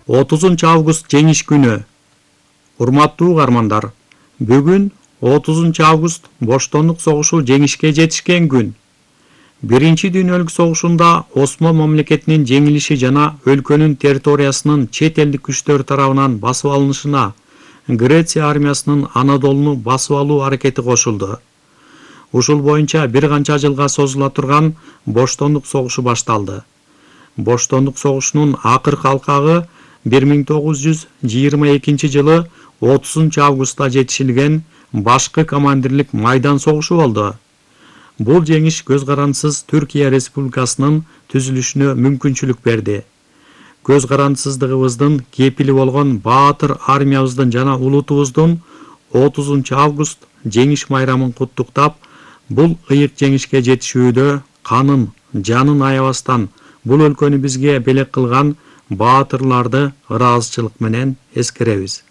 30 август жеңиш күнү. Урматтуу угармандар, бүгүн 30 август Боштондук согушу жеңишке жетишкен күн. Биринчи дүйнөлүк согушунда Осман мамлекетинин жеңилиши жана өлкөнүн территориясынын чет элдик күчтөр тарабынан басып алынышына Греция армиясынын Анадолуну басып алуу аракети кошулду. Ушул боюнча бир канча жылга созула турган Боштондук согушу башталды. Боштондук согушунун акыркы алкагы 1922 жылы 30 августта жетишилген башкы командирлик майдан согушу болду. Бул жеңиш көз карандысыз Түркия Республикасынын түзүлүшүнө мүмкүнчүлүк берди. Көз карандысыздыгыбыздын кепили болгон баатыр армиябыздын жана улутубуздун 30 август жеңиш майрамын куттуктап, бул ыйык жеңишке жетишүүдө канын, жанын аябастан бул өлкөнү бизге белек кылган баатырларды ыраазычылык менен эскеребиз.